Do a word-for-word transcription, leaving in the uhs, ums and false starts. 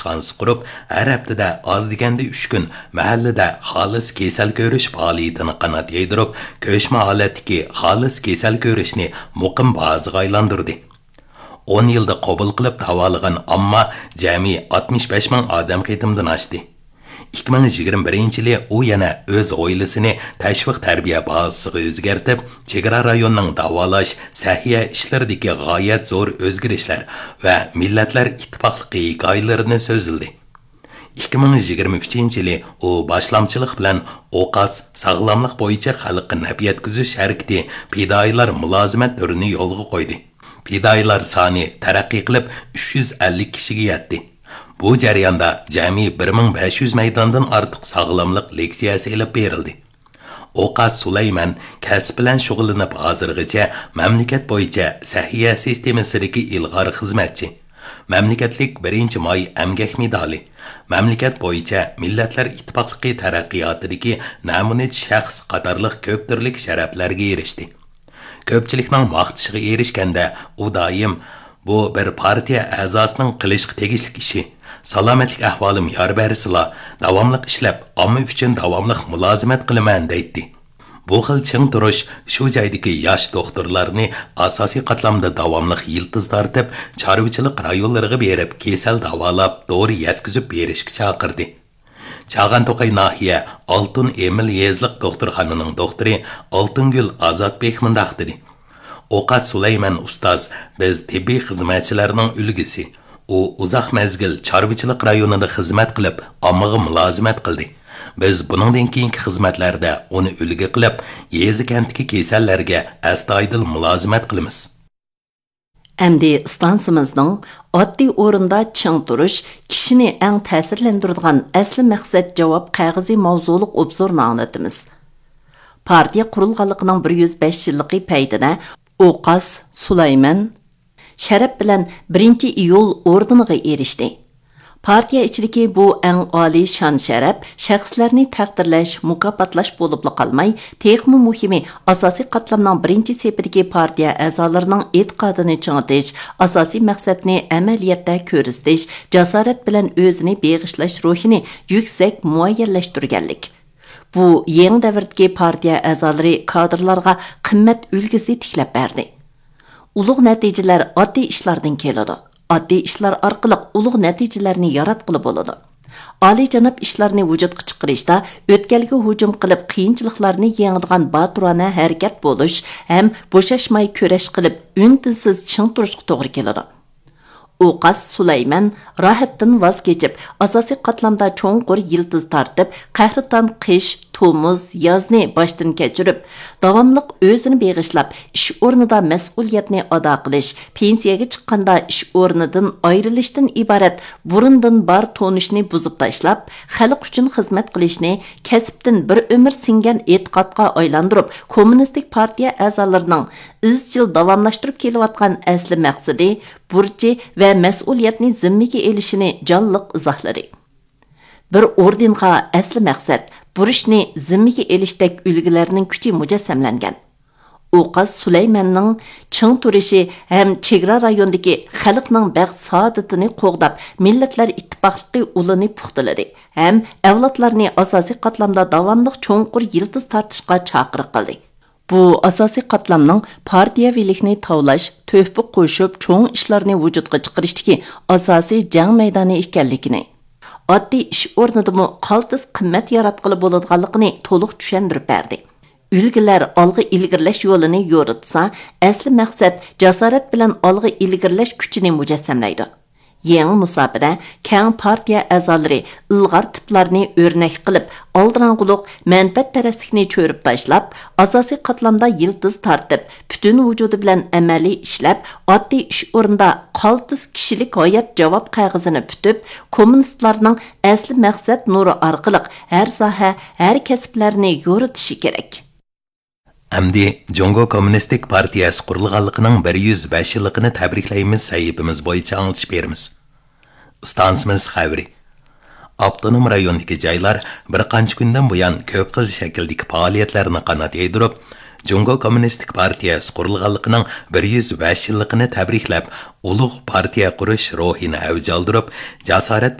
ئىشخانىسى قۇرۇپ، ھەر ھەپتىدە ئاز دېگەندە ئۈچ كۈن مەھەللىدە خالىس كېسەل كۆرۈش پائالىيىتىنى قانات يايدۇرۇپ، كۆچمە ھالەتتىكى خالىس كېسەل كۆرۈشنى مۇقىم بازىغا ئايلاندۇردى. ئون يىلدا قوبۇل قىلىپ داۋالىغان ئامما جەمئىي ئاتمىش بەش مىڭ ئادەم قېتىمدىن ئاشتى. ئىككى مىڭ يىگىرمە بىرىنچى يىلى ئۇ يەنە ئۆز ھويلىسىنى تەشۋىق تەربىيە بازىسىغا ئۆزگەرتىپ، چېگرا رايونىنىڭ داۋالاش، سەھىيە ئىشلىرىدىكى غايەت زور ئۆزگىرىشلەر ۋە مىللەتلەر ئىتتىپاقلىقى ھېكايىلىرىنى سۆزلىدى. ئىككى مىڭ يىگىرمە ئۈچىنچى يىلى ئۇ باشلامچىلىق بىلەن ئوقاس ساغلاملىق بويىچە خەلققە نەپ يەتكۈزۈش ھەرىكىتى پىدائىيلار مۇلازىمەت تۈرىنى يولغا قويدى. پىدائىيلار سانى تەرەققىي قىلىپ، ئۈچ يۈز ئەللىك كىشىگە يەتتى. بۇ جەرياندا جەمئىي بىر مىڭ بەش يۈز مەيداندىن ئارتۇق ساغلاملىق لېكسىيەسى ئېلىپ بېرىلدى. ئوقاس سۇلايمەن كەسىپ بىلەن شۇغۇللىنىپ ھازىرغىچە مەملىكەت بويىچە سەھىيە سىستېمىسىدىكى ئىلغار خىزمەتچى، مەملىكەتلىك بىرىنچى ماي ئەمگەك مېدالى، مەملىكەت بويىچە مىللەتلەر ئىتتىپاقلىقى تەرەققىياتىدىكى نەمۇنىچى شەخس قاتارلىق كۆپ تۈرلۈك شەرەپلەرگە ئېرىشتى. كۆپچىلىكنىڭ ماختىشىغا ئېرىشكەندە، ئۇ دائىم، «بۇ بىر پارتىيە ئەزاسىنىڭ قىلىشقا تېگىشلىك ئىشى. سالامەتلىك ئەھۋالىم يار بەرسىلا، داۋاملىق ئىشلەپ، ئامما ئۈچۈن داۋاملىق مۇلازىمەت قىلىمەن» دەيتتى. بۇ خىل چىڭ تۇرۇش شۇ جايدىكى ياش دوختۇرلارنى ئاساسىي قاتلامدا داۋاملىق يىلتىز تارتىپ، چارۋىچىلىق رايونلىرىغا بېرىپ كېسەل داۋالاپ، دورا يەتكۈزۈپ بېرىشكە چاقىردى. چاغان توقاي ناھىيە ئالتۇن ئېمىل يېزىلىق دوختۇرخانىنىڭ دوختۇرى ئالتۇنگۈل ئازادبېك مۇنداق دېدى: «ئوقاس سۇلايمەن ئۇستاز بىز تېببىي خىزمەتچىلەرنىڭ ئۈلگىسى. ئۇ ئۇزاق مەزگىل چارۋىچىلىق رايونىدا خىزمەت قىلىپ، ئاممىغا مۇلازىمەت قىلدى. بىز بۇنىڭدىن كېيىنكى خىزمەتلەردە ئۇنى ئۈلگە قىلىپ، يېزا-كەنتتىكى كېسەللەرگە ئەستايىدىل مۇلازىمەت قىلىمىز.» ئەمدى ئىستانسىمىزنىڭ ئاددىي ئورۇندا چىڭ تۇرۇش، كىشىنى ئەڭ تەسىرلەندۈرىدىغان ئەسلى مەقسەت جاۋاب قەغىزى ماۋزۇلۇق ئوبزورنى ئاڭلىتىمىز. پارتىيە قۇرۇلغانلىقىنىڭ بىر يۈز بەش يىللىقى پەيتىدە ئوقاس سۇلايمەن شەرەپ بىلەن بىرىنچى ئىيۇل ئوردېنىغا ئېرىشتى. پارتىيە ئىچىدىكى بۇ ئەڭ ئالىي شان-شەرەپ شەخسلەرنى تەقدىرلەش، مۇكاپاتلاش بولۇپلا قالماي، تېخىمۇ مۇھىمى، ئاساسىي قاتلامنىڭ بىرىنچى سېپىدىكى پارتىيە ئەزالىرىنىڭ ئېتىقادىنى چىڭىتىش، ئاساسىي مەقسەتنى ئەمەلىيەتتە كۆرسىتىش، جاسارەت بىلەن ئۆزىنى بېغىشلاش روھىنى يۈكسەك مۇئەييەنلەشتۈرگەنلىك. بۇ يېڭى دەۋردىكى پارتىيە ئەزالىرى كادىرلارغا قىممەت ئۈلگىسى تىكلەپ بەردى. ئۇلۇغ نەتىجىلەر ئاددىي ئىشلاردىن كېلىدۇ. ئاددىي ئىشلار ئارقىلىق ئۇلۇغ نەتىجىلەرنى ياراتقىلى بولىدۇ. ئالىيجاناب ئىشلارنى ۋۇجۇدقا چىقىرىشتا ئۆتكەلگە ھۇجۇم قىلىپ، قىيىنچىلىقلارنى يېڭىدىغان باتۇرانە ھەرىكەت بولۇش ھەم بوشاشماي كۈرەش قىلىپ، ئۈن-تىنسىز چىڭ تۇرۇشقا توغرا كېلىدۇ. ئوقاس سۇلايمەن راھەتتىن ۋاز كېچىپ، ئاساسىي قاتلامدا چوڭقۇر يىلتىز تارتىپ، قەھرىتان قىش، تومۇز، يازنى باشتىن كەچۈرۈپ، داۋاملىق ئۆزىنى بېغىشلاپ، ئىش ئورنىدا مەسئۇلىيەتنى ئادا قىلىش، پېنسىيەگە چىققاندا ئىش ئورنىدىن ئايرىلىشتىن ئىبارەت بۇرۇندىن بار تونۇشنى بۇزۇپ تاشلاپ، خەلق ئۈچۈن خىزمەت قىلىشنى كەسىپتىن بىر ئۆمۈر سىڭگەن ئېتىقادقا ئايلاندۇرۇپ، كوممۇنىستىك پارتىيە ئەزالىرىنىڭ ئىزچىل داۋاملاشتۇرۇپ كېلىۋاتقان ئەسلى مەقسىتى، بۇرچى ۋە مەسئۇلىيەتنى زىممىگە ئېلىشىنى جانلىق ئىزاھلىدى. بىر ئوردېنغا ئەسلى مەقسەت، بۇرچنى زىممىگە ئېلىشتەك ئۈلگىلەرنىڭ كۈچى مۇجەسسەملەنگەن. ئوقاس سۇلەيمەننىڭ چىڭ تۇرۇشى ھەم چېگرا رايوندىكى خەلقنىڭ بەخت-سائادىتىنى قوغداپ، مىللەتلەر ئىتتىپاقلىقى ئۇلىنى پۇختىلىدى ھەم ئەۋلادلارنى ئاساسىي قاتلامدا داۋاملىق چوڭقۇر يىلتىز تارتىشقا چاقىرىق قىلدى. بۇ ئاساسىي قاتلامنىڭ پارتىيەۋىلىكنى تاۋلاش، تۆھپە قوشۇپ، چوڭ ئىشلارنى ۋۇجۇدقا چىقىرىشتىكى ئاساسىي جەڭ مەيدانى ئىكەنلىكىنى، ئاددىي ئىش ئورنىدىمۇ قالتىس قىممەت ياراتقىلى بولىدىغانلىقىنى تولۇق چۈشەندۈرۈپ بەردى. ئۈلگىلەر ئالغا ئىلگىرىلەش يولىنى يورۇتسا، ئەسلى مەقسەت جاسارەت بىلەن ئالغا ئىلگىرىلەش كۈچىنى مۇجەسسەملەيدۇ. يېڭى مۇساپىدە كەڭ پارتىيە ئەزالىرى ئىلغار تىپلارنى ئۆرنەك قىلىپ، ئالدىراڭغۇلۇق، مەنپەئەتپەرەسلىكنى چۆرۈپ تاشلاپ، ئاساسىي قاتلامدا يىلتىز تارتىپ، پۈتۈن ۋۇجۇدى بىلەن ئەمەلىي ئىشلەپ، ئاددىي ئىش ئورنىدا قالتىس كىشىلىك ھايات جاۋاب قەغىزىنى پۈتۈپ، كوممۇنىستلارنىڭ ئەسلى مەقسەت نۇرى ئارقىلىق ھەر ساھە، ھەر كەسىپلەرنى يورۇتۇشى كېرەك. ئەمدى جۇڭگو كوممۇنىستىك پارتىيەسى قۇرۇلغانلىقىنىڭ بىر يۈز بەش يىللىقىنى تەبرىكلەيمىز سەھىپىمىز بويىچە ئاڭلىتىش بېرىمىز. ئىستانسىمىز خەۋىرى. ئاپتونوم رايوندىكى جايلار بىر قانچە كۈندىن بۇيان كۆپ خىل شەكىلدىكى پائالىيەتلەرنى قانات يايدۇرۇپ، جۇڭگو كوممۇنىستىك پارتىيەسى قۇرۇلغانلىقىنىڭ بىر يۈز بەش يىللىقىنى تەبرىكلەپ، ئۇلۇغ پارتىيە قۇرۇش روھىنى ئەۋج ئالدۇرۇپ، جاسارەت